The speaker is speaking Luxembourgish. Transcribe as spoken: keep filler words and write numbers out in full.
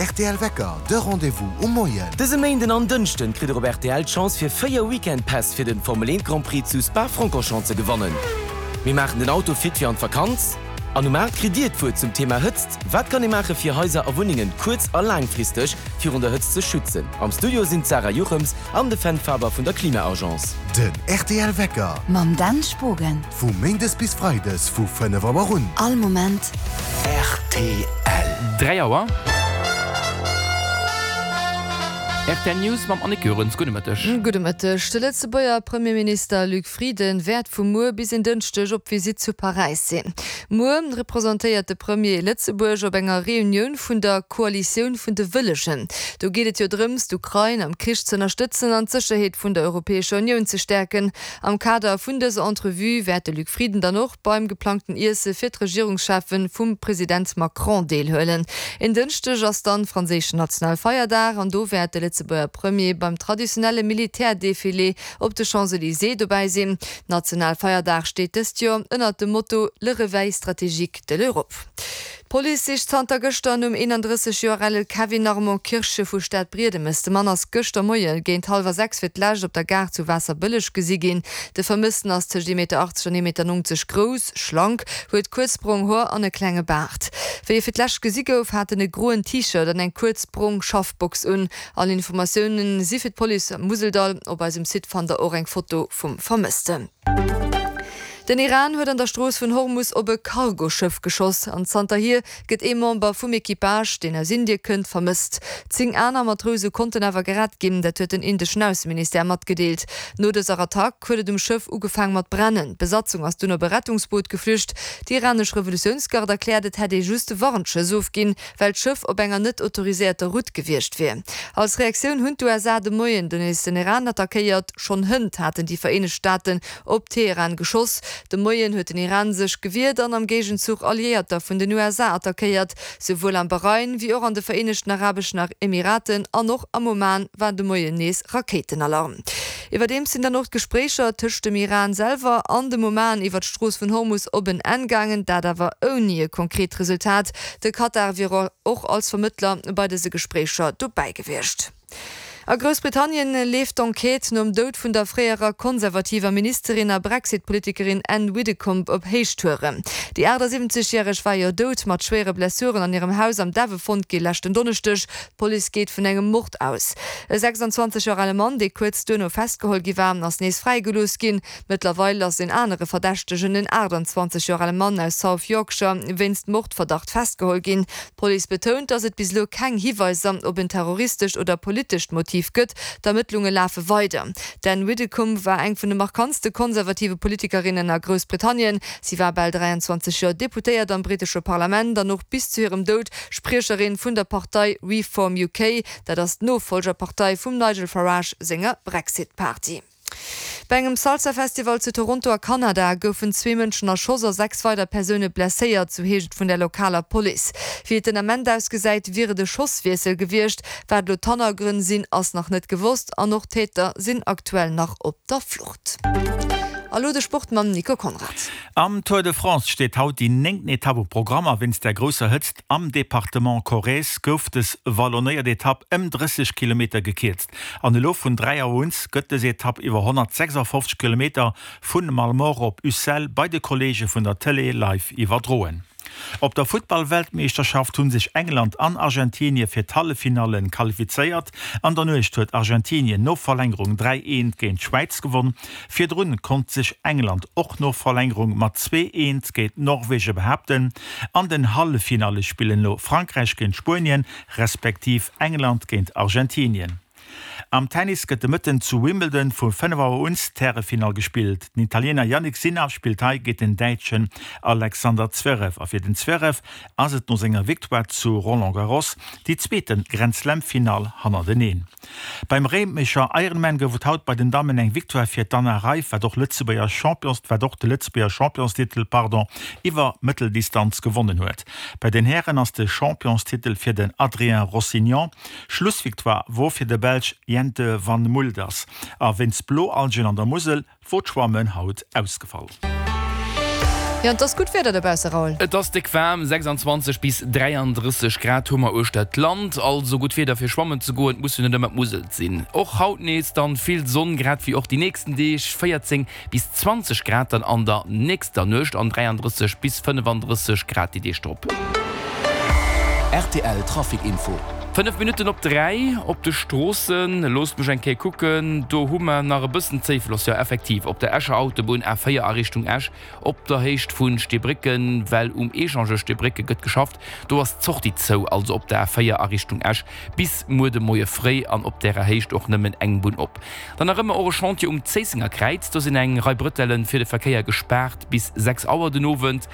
rtl Wecker, de Rendez-vous um Moien. Dëse Méinden an Dënschden kritt der op rtl d'Chance fir véier Weekend Päss fir den Formel eent Grand Prix zu Spa-Francorchamps ze gewannen. Mir maachen den Auto fit fir an d'Vakanz an um aacht kritt dir d'Wuert zum Thema Hëtzt. Wat kann ee maache fir Haiser a Wunnengen kuerz a laangfristeg virun der Hëtzt ze schützen? Am Studio sinn d'Sarah Jochems an de Fenn Faber vun der Klima-Agence. Den rtl Wecker. Mam Dan Spogen. Vu Méindes bis Freides vu fënnef Auer un. All Moment. Rtl. Dräi Auer. Rtl News mam Annick Goerens. Gudde Mëtteg. Gudde Mëtteg. De Lëtzebuerger Premierminister Luc Frieden wäert vu muer bis en Dënschdeg op Visitt zu Paräis sinn. Muer representéiert de Premier Lëtzebuerg op enger Reunioun vun der Koalitioun vun de Wëllegen. Do geet et jo drëms, d'Ukrain am Krich ze ënnerstëtzen an d'Sécherheet vun der Europäescher Unioun ze stäerken. Am Kader vun dëser Entrevue wäert de Luc Frieden dann och beim geplangten Iesse fir d'Regierungscheffen vum President Macron deelhuelen. En Dënschdeg ass dann franséischen Nationalfeierdag an do wäert de Lëtzebuerger Premier beim traditionelle Militärdefilé op de Champs-Elysées dobäi sinn. Nationalfeierdag steet dëst Joer ënnert dem Motto Le réveil stratégique de l'Europe. D'Police sicht zanter gëschter nom eenandrësseg Joer ale Kevin Armand Kirche vu Stadbriedemes. De Mann ass gëschter Moie géint hallwer sechs fir d'lescht op der Gare zu Waasserbëlleg gesi ginn. De Vermëssten ass tëscht ee Meter achtzeg an ee Meter nonzeg grouss, schlank, huet kuerz brong Hoer an e klenge Baart. Wéi e fir d'lescht gesi gouf, hat en e groen T-Shirt an eng kuerz brong Schaffbox un. All Informatiounen si fir d'Police am Museldall. Op eisem Site fannt der och eng Foto vum Vermëssten. Den Iran huet an der Strooss vun Hormus op e Cargoschëff geschoss an zanterhier gëtt ee Member vum Equipage, deen aus Indie kënnt, vermësst. Zéng aner Matrouse konnten awer gerett ginn, dat huet den indeschen Ausseministère matgedeelt. No dëser Attack huet et um Schëff ugefaang mat brennen. D'Besatzung ass dunn op e Rettungsboot geflücht. Déi iranesch Revolutiounsgarde erkläert, et hätt ee just Warnschëss ofginn, well d'Schëff op enger net autoriséierter Route gewiescht wier. Als Reaktioun hunn d'USA de Moien dunn nees den Iran attackéiert. Schonn hënt haten déi Vereenegt Staaten op Teheran geschoss. De Moien huet den Iran sech gewiert an am Géigenzuch Alliéierter vun den U S A attackéiert. Souwuel am Bahrain wéi och an de Vereenegten Arabeschen Emiraten an och am Oman war de Moien nees Rakéitenalarm. Iwwerdeems sinn dann och d'Gespréicher tëscht dem Iran selwer an dem Oman iwwer d'Strooss vun Hormus op en Enn gaangen, dat awer ouni e konkret Resultat. De Katar wier och als Vermëttler bei dëse Gespréicher dobäi gewiescht. A Groussbritannien leeft d'Enquête nom Doud vun der fréierer konservativer Ministerin a Brexit-Politikerin Anne Widdecombe op Héichtouren. Déi achtasiwwenzeg järeg war jo dout mat schwéiere Blessuren an hirem Haus am Devon fonnt gi leschten Donneschdeg. D'Police geet vun engem Mord aus. E sechsandzwanzeg Joer ale Mann, dee kuerz duerno festgeholl gi war, ass nees fräigelooss ginn. Mëttlerweil ass en anere Verdächtegen, en aachtandzwanzeg Joer ale Mann aus South Yorkshire, wéinst Mordverdacht festgeholl ginn. D'Police betount, datt et bis elo keng Hiweiser op en terroristescht oder politescht Motiv gëtt. D'Ermëttlunge lafe weider. D'Anne Widdecombe war eng vun de markantste konservative Politikerinnen a Groussbritannien. Si war bal dräiandzwanzeg Joer Deputéiert am brittesche Parlament an och bis zu hirem Doud Spriecherin vun der Partei Reform U K. Dat ass d'Nofollgerpartei vum Nigel Farage senger Brexit-Party. Bei engem Salsa-Festival zu Toronto a Kanada goufen zwee Mënschen erschoss a sechs weider Persoune blesséiert, sou heescht et vun der lokaler Police. Wéi et den Ament ausgesäit, wier et e Schosswiessel gewiescht. Wat elo d'Hannergrënn sinn, ass nach net gewosst an och d'Täter sinn aktuell nach op der Flucht. A lo de Sport mam Nico Conrad. Am Tour de France steet haut déi néngten Etapp um Programm a wéinst der grousser Hëtzt am Departement Corrèze gouf dës wallonéiert Etapp ëm drësseg Kilometer gekierzt. An elo vun dräi Auer un gëtt dës Etapp iwwer honnertsechsafofzeg Kilometer vun Malemort op Ussel bei de Kolleege vun der Tëlee live iwwerdroen. Op der Futtball-Weltmeeschterschaft hunn sech England an Argentinie fir d'Halleffinallen qualifizéiert. An der Nuecht huet Argentinien no Verlängerung dräi eent géint d'Schwäiz gewonn. Virdrun konnt sech England och no Verlängerung mat zwee eent géint Norwege behaapten. An den Halleffinalle spillen elo Frankräich géint Spuenien, respektiv England géint Argentinien. Am Tennis gëtt de Mëtten zu Wimbledon vu fënnef Auer un d'Härefinall gespillt. Den Italiener Jannik Sinner spillt hei géint den Däitschen Alexander Zverev. A fir den Zverev ass et no senger Victoire zu Roland Garros déi zweete Grand Slam-Finall hannerteneen. Beim Réimecher Ironman gouf et haut bei den Dammen eng Victoire fir d'Anna Reif, wat och Lëtzebuerger Champions, wat och de Lëtzebuerger Championstitel, pardon, iwwer Mëtteldistanz gewonnen huet. Bei den Hären ass de Championstitel fir den Adrien Rossignon. Schlussvictoire wor fir de Belsch Jente van Mulders. A wéinst Bloalgen an der Musel wor d'Schwammen haut ausgefall. Jo, an et ass gutt Wieder dobausse, Raoul. Et ass déck waarm, sechsandzwanzeg bis dräiandrësseg Grad hu mer uechter d'Land. Also gutt Wieder fir schwammen ze goen, et muss jo net ëmmer d'Musel sinn. Och haut nees dann vill Sonn, grad wéi och déi nächsten Deeg, véierzéng bis zwanzeg Grad dann an der nächster Nuecht an dräiandrësseg bis fënnefandrësseg Grad déi Deeg drop. Rtl Trafic Info. Fënnef Minutten op dräi op de Stroossen, loosst mech eng Kéier kucken, do hu mer nach e bëssen Zéifloss, jo effektiv op der Escher Autobunn A véier a Richtung Esch op der Héicht vu Steebrécken, well um Echangeur Steebrécke gëtt geschafft, do ass d'Sortie zou, also op der A véier a Richtung Esch bis muer de Moie fréi an op därer Héicht och nëmmen eng Bunn op. Dann nach ëmmer och e Chantier um Zéissenger Kräiz, do sinn eng Rei Brëtellen fir de Verkéier gespaart bis sechs Auer den Owend.